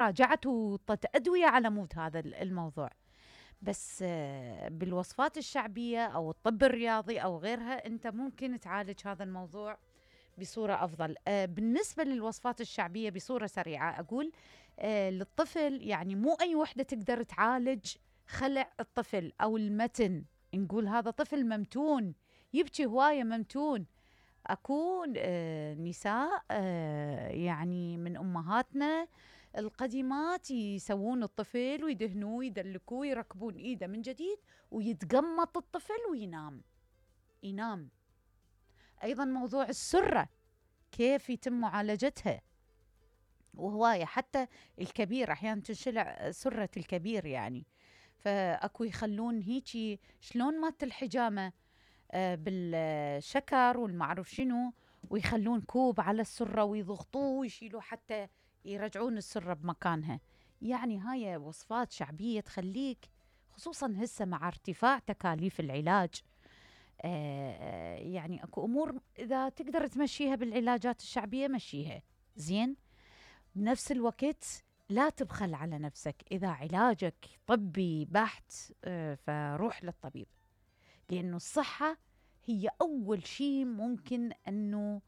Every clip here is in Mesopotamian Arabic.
راجعت وطت أدوية على مود هذا الموضوع. بس بالوصفات الشعبية أو الطب الرياضي أو غيرها أنت ممكن تعالج هذا الموضوع بصورة أفضل. بالنسبة للوصفات الشعبية بصورة سريعة أقول للطفل، يعني مو أي وحدة تقدر تعالج خلع الطفل أو المتن. نقول هذا طفل ممتون يبكي هواية ممتون. أكون نساء يعني من أمهاتنا القديمات يسوون الطفل ويدهنوه ويدلكوه ويركبون إيده من جديد ويتقمط الطفل وينام. أيضا موضوع السرة كيف يتم معالجتها، وهواية حتى الكبير أحيانا تنشلع سرة الكبير يعني. فأكو يخلون هيجي شلون مات الحجامة بالشكر والمعروف شنو، ويخلون كوب على السرة ويضغطوه ويشيلوه حتى يرجعون السرة بمكانها. يعني هاي وصفات شعبية تخليك، خصوصا هسه مع ارتفاع تكاليف العلاج، يعني اكو امور اذا تقدر تمشيها بالعلاجات الشعبية مشيها زين. بنفس الوقت لا تبخل على نفسك. اذا علاجك طبي بحت فروح للطبيب، لانه الصحة هي اول شيء ممكن انه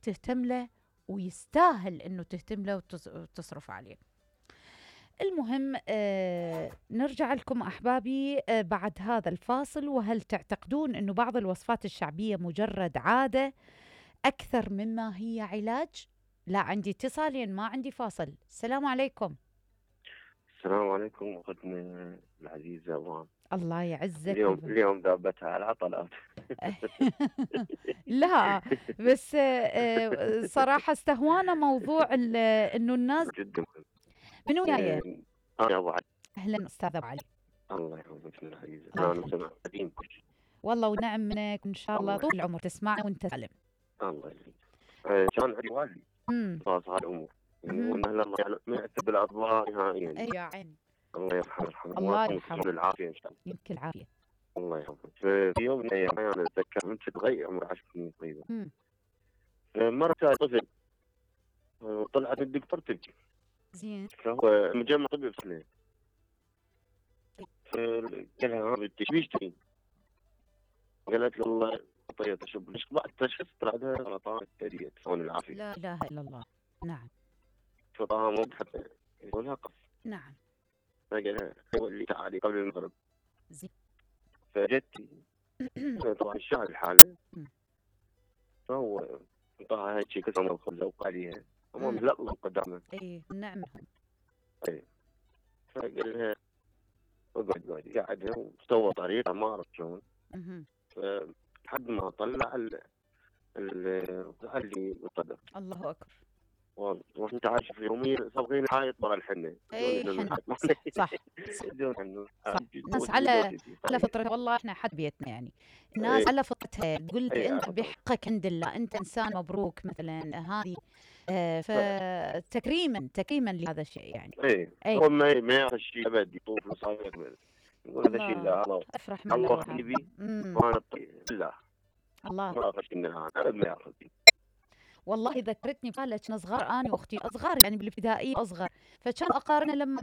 تهتم له، ويستاهل انه تهتم له وتصرف عليه. المهم نرجع لكم أحبابي بعد هذا الفاصل. وهل تعتقدون أنه بعض الوصفات الشعبية مجرد عادة أكثر مما هي علاج؟ لا، عندي اتصالين ما عندي فاصل. السلام عليكم. السلام عليكم أختنا العزيزة وان. الله يعزك. اليوم ذابتها على العطلات. لا بس صراحة استهوانا موضوع أنه الناس جدا منو جاية؟ أنا أبو علي. أهلا أستاذ أبو علي. الله يحفظك من العزيزة. أنا سمع قديم كل والله ونعم منك إن شاء الله طول العمر تسمعنا وأنت سالم. الله يسلمك. كان عندي والدي خلاص هالأمور يعني والله الله يعني ما يأثر بالأطباء نهائيا. يا عين. الله يرحمه. الله يرحمه. العافية إن شاء الله. يمكن العافية. الله يحفظك. في يوم من الأيام أنا أتذكر من تغير عمر 10 سنين تقريبا. مرة طفل طلعت الدكتور تبكي. زين. فهو مجمع طبي بسنة. فقال لها هذا ايش تبين؟ قالت له والله طيب اشوف ليش بعد تشخيص طلع لها سرطان الثدي تسوون العافية. لا اله الا الله. نعم. فطاها مو حتى يقولها قف. نعم. فقال لها اللي تعالي قبل المغرب. زين. فجت طبعا الشهر الحالة. فهو طاها هيك شيء كسر الخبز وقال لها امام لا الله قدامه. اي نعم. اي فقال لها اقعد قعدها وسوى طريقة ما اعرف شلون. فلحد ما طلع اللي بالقدر. الله اكبر. وانت عايش في يومين صابغين حايط برا الحنه. اي صح. الناس على فطرة. والله احنا حد بيتنا يعني الناس على فطرتها. تقول لك انت بحقك عند الله، انت انسان مبروك مثلا هذه. فتكريما لهذا الشيء يعني. هو ما يعرف الشيء ابد يطوف مصايب يقول هذا الشيء لا الله افرح من الله حبيبي وانا لا الله ما اعرف انها انا ما اعرف. والله ذكرتني بحالة كنا صغار انا واختي اصغر يعني بالابتدائيه اصغر، فكان اقارنه لما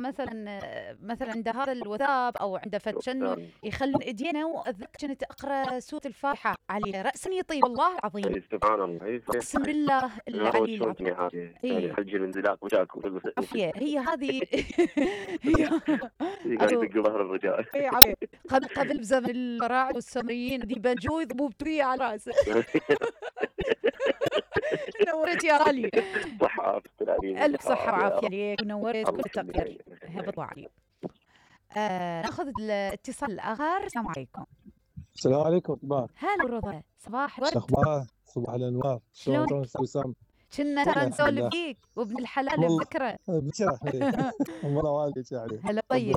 مثلا عند هذا الوثاب او عند فتشنو يخلون ايدينا، واذكر كنت اقرا سوره الفاتحه عليه راسا يطيب. والله العظيم سبحان الله. اقسم بالله العلي العظيم. يعني حج الانزلاق وشاكو هي هذه هي قاعد يدق ظهر الرجال. قبل بزمن الفراعنه والسامريين يبنجوا يضبوا بتريه على راسه. نورت يا علي. صحة ألف صحة وعافية ليك ونورت كل تقدير. هبط علي. ناخذ الاتصال الآخر. السلام عليكم. السلام عليكم طباع. هلا رضا. صباح ورد. أخبار صباح الأنوار. شلون وسام؟ كنا ترى نسولف فيك وابن الحلال بذكره. بكرة والله والدي يعني. هلا طيب.